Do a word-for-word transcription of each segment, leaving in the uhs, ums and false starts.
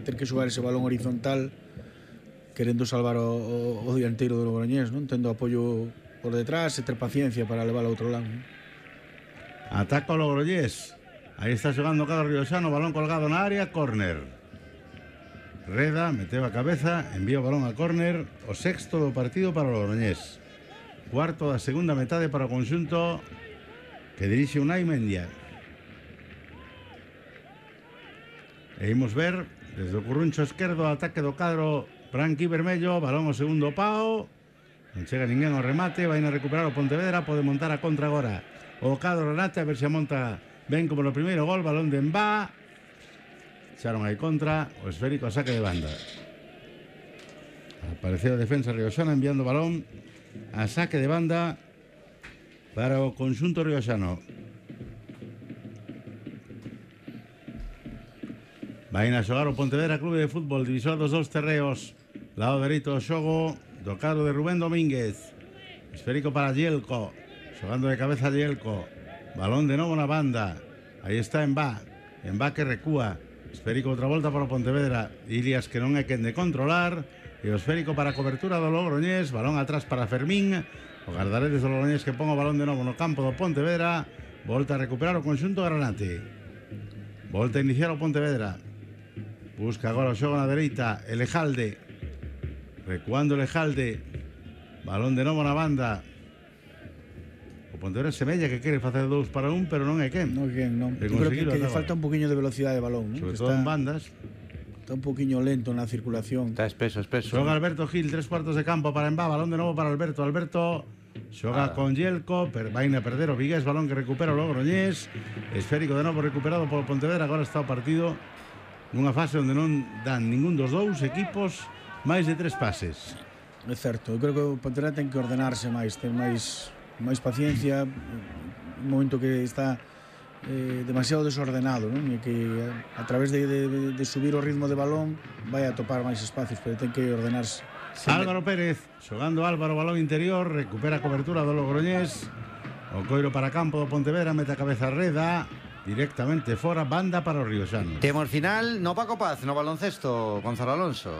ter que xogar ese balón horizontal querendo salvar o, o, o dianteiro do Logroñés, non? Tendo apoio por detrás e ter paciencia para levar ao outro lado, non? Ataca o Logroñés. Aí está xogando Carlos Riosano, balón colgado na área, córner. Reda meteu a cabeza, envía o balón a córner, o sexto do partido para o Logroñés. Cuarto da segunda metade para o conxunto que dirixe Unai Mendia. E imos ver desde o curruncho esquerdo ataque do cadro branqui vermello, balón o segundo pao, non chega ninguén ao remate, vai a recuperar o Pontevedra, pode montar a contra agora o cadro Renate, a ver se a monta ben como no primeiro gol, balón de Embá, echaron aí contra, o esférico a saque de banda. Apareceu a defensa riosana enviando balón a saque de banda para o conxunto riosano. Vai a xogar o Pontevedra Clube de Fútbol, divisor dos dous terreos, lado dereito do xogo do cadro de Rubén Domínguez, esférico para Yelko, xogando de cabeza Yelko, balón de novo na banda, aí está Embá, Embá que recúa, esférico outra volta para o Pontevedra, Ilias que non é quen de controlar, e o esférico para a cobertura do Logroñés, balón atrás para Fermín, o guardaredes do Logroñés que pon o balón de novo no campo do Pontevedra, volta a recuperar o conxunto granate, volta a iniciar o Pontevedra, busca agora o xogo na dereita, Elejalde, recuando Elejalde, balón de novo na banda, o Pontevedra semella que quere facer dous para un, pero non é quen. Non é quen, non. Eu creo que, que lle falta un poquinho de velocidade de balón, non? Sobre Que todo está, en bandas. Está un poquinho lento na circulación. Está espeso, espeso. Xoga Alberto Gil, tres cuartos de campo para Embá, balón de novo para Alberto. Alberto xoga ah. con Yelko, per, vai a perder o Vigués, balón que recupera o Logroñés, esférico de novo recuperado polo Pontevedra, agora está o partido nunha fase onde non dan ningún dos dous equipos máis de tres pases. É certo, eu creo que o Pontevedra ten que ordenarse máis, ter máis máis paciencia, un momento que está eh, demasiado desordenado, non? E que a, a través de, de, de subir o ritmo de balón vai a topar máis espacios, pero ten que ordenarse. Sempre. Álvaro Pérez, xogando Álvaro, balón interior, recupera a cobertura do Logroñés, o coiro para campo do Pontevedra, mete a cabeza Reda, directamente fora, banda para o Riosano. Temos final no Paco Paz, no baloncesto, Gonzalo Alonso.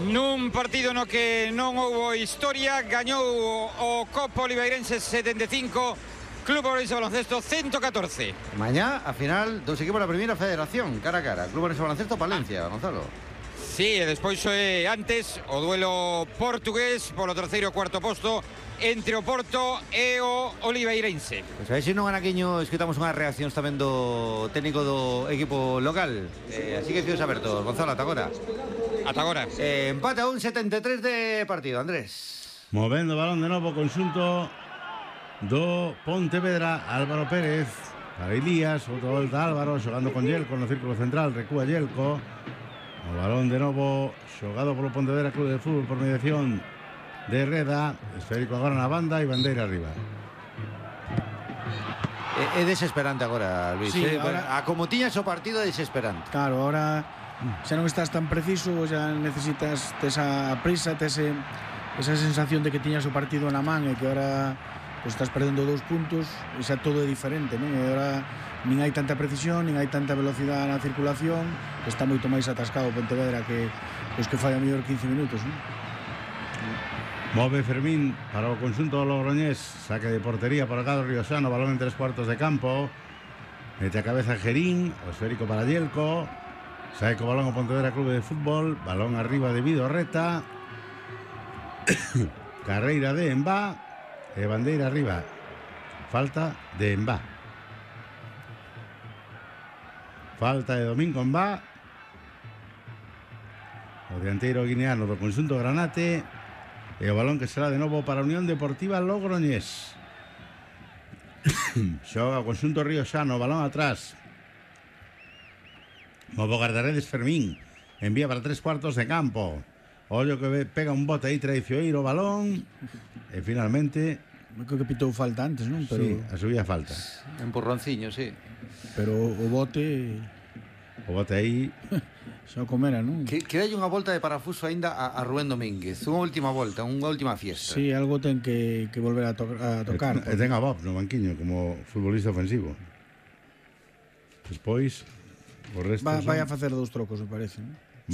Nun partido no que non houbo historia, gañou o Copa Oliveirense setenta e cinco, Club Ourense Baloncesto ciento catorce. Mañá, a final, dos equipos da primeira federación, cara a cara, Club Ourense Baloncesto Palencia, Gonzalo. Sí, e despois é antes o duelo portugués polo terceiro e cuarto posto entre o Porto e o Oliveirense. Pois a ver se non anaquiño escutamos unhas reaccións tamén do técnico do equipo local. Eh, así que fios abertos, Gonzalo, ata agora. Ata agora. Eh, empate a un setenta e tres de partido, Andrés. Movendo o balón de novo conxunto do Pontevedra, Álvaro Pérez para Elías, outra volta Álvaro xogando con Yelko no círculo central, recúa Yelko, o balón de novo xogado polo Pontevedra Clube de Fútbol por mediación de Reda, esférico agora na banda e bandeira arriba. É, é desesperante agora, Luis. Sí, eh? ahora... A como tiñas o partido é desesperante. Claro, ahora xa non estás tan preciso, xa necesitas esa prisa, ese, esa sensación de que tiñas o partido na man e que ahora pues, estás perdendo dous puntos e xa todo é diferente, non? E ahora nin hai tanta precisión, nin hai tanta velocidade na circulación, está moito máis atascado Pontevedra que pues, que fai a mellor quince minutos, non? Move Fermín para o conxunto do Logroñés, saque de portería para o cadro riosano, balón en tres cuartos de campo, mete a cabeza Gerín, o esférico para Yelko, sae co balón o Pontevedra Clube de Fútbol, balón arriba de Vidorreta, carreira de Embá e bandeira arriba, falta de Embá, falta de Domingo Embá, o dianteiro guineano do conxunto granate, e o balón que será de novo para a Unión Deportiva Logroñés. Xoga o conxunto riosano, balón atrás, movo guardaredes Fermín, envía para tres cuartos de campo, ollo que pega un bote aí traicioneiro o balón e finalmente creo que pitou falta antes, non? Pero... Sí, a subía falta. Empurronciño, sí. Pero o bote o bote aí xa o comera, non? Que, que hai unha volta de parafuso aínda a, a Rubén Domínguez, unha última volta, unha última fiesta. Sí, algo ten que, que volver a, to a tocar. E, e ten a Bob no banquiño como futbolista ofensivo. Despois o resto Va, son... vai a facer dous trocos, me parece, non?